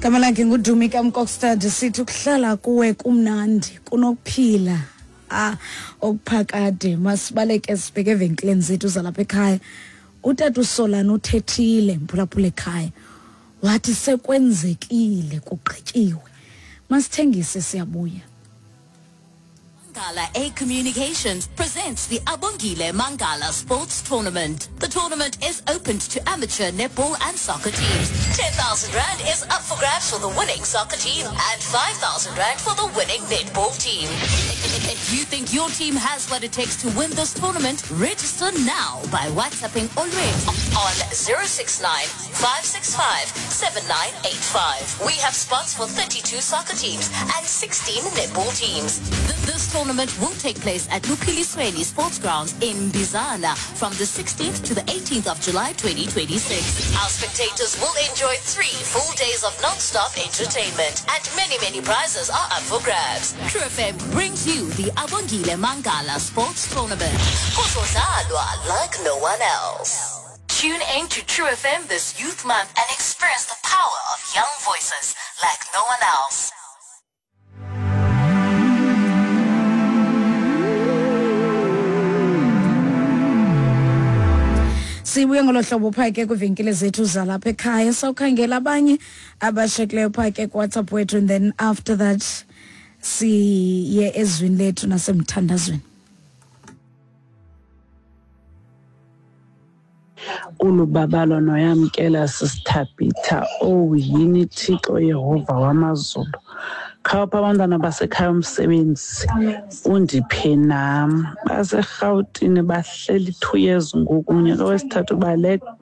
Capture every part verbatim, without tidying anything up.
Gama lakhe nguDumi kaMkokstad, sithi ukuhlala kuwe kumnandi kunokuphila ah okuphakade. Masibaleke sibheke evenkileni zethu zalapha ekhaya. Utata uSolana uthethile mphulaphula ekhaya, wathi sekwenzekile, kugqityiwe, masithengise, siyabuya. Mangala A Communications presents the Abongile Mangala Sports Tournament. The tournament is open to amateur netball and soccer teams. ten thousand rand is up for grabs for the winning soccer team and five thousand rand for the winning netball team. If you think your team has what it takes to win this tournament, register now by WhatsApping Olwethu on zero six nine, five six five, seven nine eight five. We have spots for thirty-two soccer teams and sixteen netball teams. This tournament will take place at Luphilisweni Sports Grounds in Bizana from the sixteenth to the eighteenth of July twenty twenty-six. Our spectators will enjoy three full days of non-stop entertainment, and many, many prizes are up for grabs. True F M brings you the Abongile Mangala Sports Tournament. Kuzodlalwa like no one else. Tune in to True F M this Youth Month and experience the power of young voices like no one else. Sibuye ngolo hlobo phaa ke kwiivenkile zethu zalapha ekhaya, sawukhangela abanye abashekileyo phaa ke kuWhatsApp wethu, and then after that siye ezwini lethu nasemthandazweni. Ulubabalo noyamkela sisithabitha, oh yini Thixo Yehova wamazulu, khawupha abantwana basekhaya umsebenzi undiphe nam. BaseRhawutini bahleli two years ngoku, unyaka wesithathu baleqa,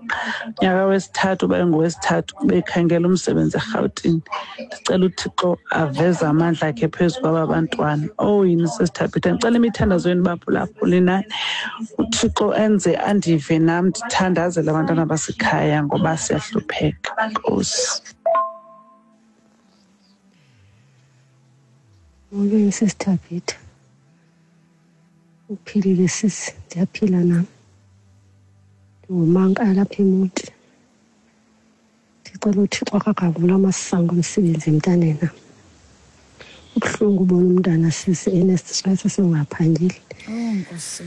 unyaka wesithathu bayengowesithathu bekhangela umsebenzi eRhawutini. Ndicela uThixo aveze amandla akhe phezu kwaba bantwana. Oh yini sisithabitha, ndicela imithandazo yenu baphulaphuli nani, uThixo enze andive nam, ndithandazele abantwana basekhaya ngoba siyahlupheka. Nkosi. Molweni sisithabitha, uphilile sisi? Ndiyaphila nam, ndingumankala apha eMonti. Ndicela uThixo akakavula amasango omsebenzi emntaneni nam. Kubuhlungu ubona umntana sisi enestress esingaphangeli. Oh Nkosi.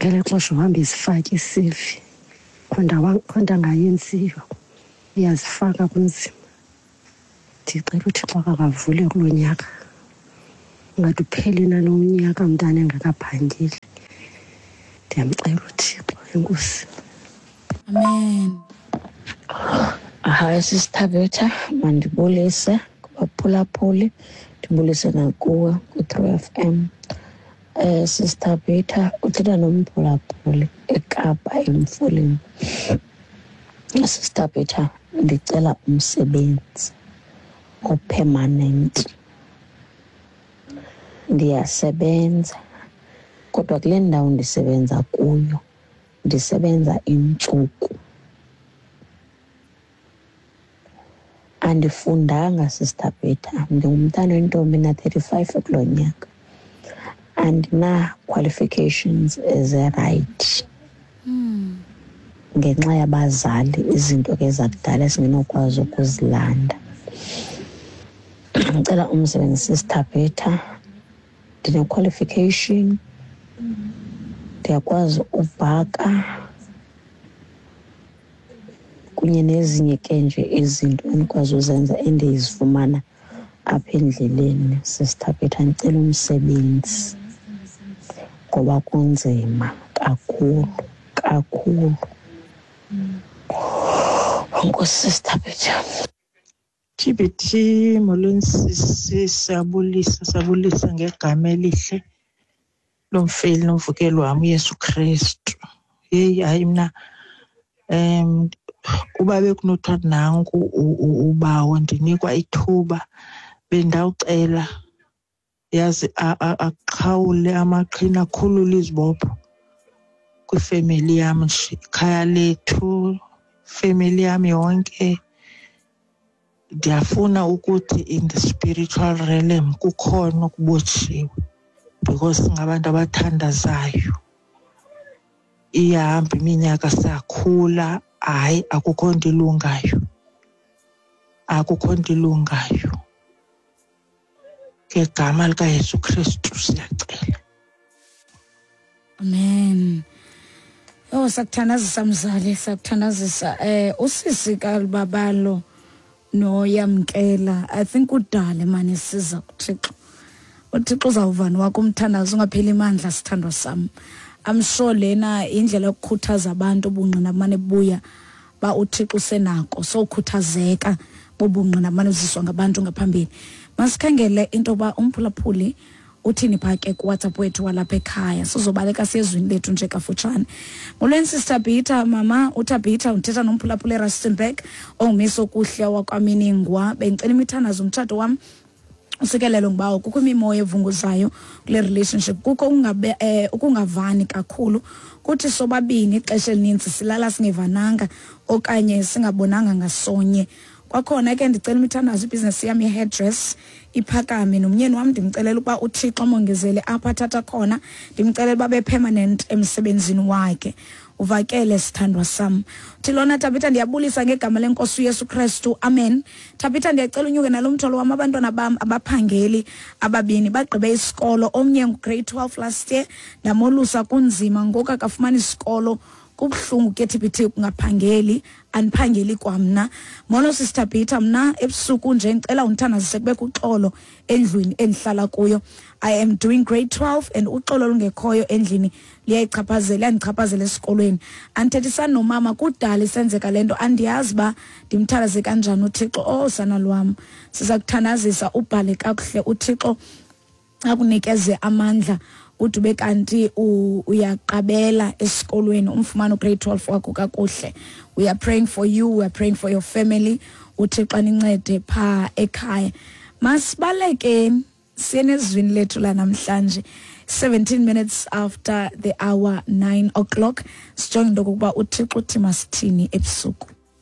Ngelo xesha uhamba izifake i-C V, khonto khonto angayenziyo, uyazifaka kunzima. Ndicela uThixo akakavule kulo nyaka, ungathi uphele nalo unyaka umntana engakaphangeli. Ndiyamcela uThixo, enkosi. Amen. Hayi sisithabetha, mandibulise kubaphulaphuli, ndibulise nakuwe kwi-True F M. Eh sisithabetha, uthetha nomphulaphuli eKapa eMfuleni. Sisithabetha, ndicela umsebenzi opermanent. Ndiyasebenza kodwa kule ndawo ndisebenza kuyo ndisebenza iintsuku. Andifundanga sisithabetha, ndingumntana wentombi na-thirty-five kulo nyaka. Andina-qualifications ezirayithi ngenxa yabazali, izinto ke zakudala esingenokwazi ukuzilanda. Ndicela umsebenzi sisithabetha, ndine-qualification, ndiyakwazi ubhaka kunye nezinye ke nje izinto endikwazi uzenza endizifumana apha endleleni. Sisithabetha, ndicela umsebenzi ngoba kunzima kakhulu kakhulu. Enkosi sisithabetha. T B T, molweni sisi, siyabulisa, siyabulisa ngegama elihle lomfeli nomvukeli wam uYesu Kristu. Heyi, hayi mna um uba bekunothiwa nanku ubawo ndinikwa ithuba, bendawucela yazi aqhawule amaqhina, akhulule izibopho kwifemeli yam nje, ikhaya lethu, ifemeli yam yonke. Ndiyafuna ukuthi in the spiritual realm kukhona okubotshiwe because singabantu abathandazayo. Iyahamba iminyaka, siyakhula, hayi akukho nto ilungayo. Akukho nto ilungayo. Ngegama likaYesu Kristu siyacela. Amen. Oh, sakuthandazisa mzali, sakuthandazisa. Eh usisi kaLubabalo noYamkela, I think udale manje siza kuThixo. uThixo uzawuvana wakho umthandazo ungapheli amandla sithandwa sami. I'm sure lena indlela yokukhuthaza abantu ubungqina manje buya ba uThixo usenako, so ukhuthazeka bobungqina manje uziswa ngabantu ngaphambili. Masikhangele into ba umphulaphuli uthini pha ke ku WhatsApp wethu walapha ekhaya. Sizobaleka siyezwini lethu nje kafutshane. Molweni Sister Peter, mama uTabitha uthetha nomphulaphuli eRustenburg ongumiso kuhle wakwaMiningwa. Bengicela imithandazo umtshato wam usikelelo ngibawo kukho imimoya evunguzayo kule relationship, kukho ungabe eh, ukungavani kakhulu, kuthi sobabini ixesha elininzi silala singevananga okanye singabonanga ngasonye. Kwakhona ke ndicela imithandazo ibhizinesi yam ye-hairdress iphakame, nomyeni wam ndimcelela ukuba uThixo amongezele apho athatha khona, ndimcelela uba be permanent emsebenzini wakhe. Uvakele sithandwa sam. Uthi lona Tabitha, ndiyabulisa ngegama lenkosi uYesu Kristu, amen. Tabitha, ndiyacela unyuke nalo mthwalo wam, abantwana bam abaphangeli ababini bagqibe isikolo, omnye ngu-grade twelve last year, ndamolusa kunzima ngoku akafumani isikolo, kubuhlungu ke T P T kungaphangeli, andiphangeli kwamna. Molo Sister Peter, mna ebusuku nje ngicela undithandazise kubekho uxolo endlwini endihlala kuyo. I am doing grade twelve and uxolo olungekhoyo endlini liyayichaphazela, liyandichaphazela esikolweni. Andithethisani nomama, kudala isenzeka le nto, andiyazi uba ndimthandaze kanjani uThixo. Oh sana lwam, siza kuthandazisa ubhale kakuhle, uThixo akunikeze amandla ude ube kanti uyaqabela esikolweni, umfumane ugrade twelve wakho kakuhle. We are praying for you, we are praying for your family. uThixo anincede pha ekhaya. Masibalekeni siye nezwini lethu lanamhlanje, seventeen minutes after the hour nine o'clock. Sijonge into okokuba uThixo uthi masithini ebusuku.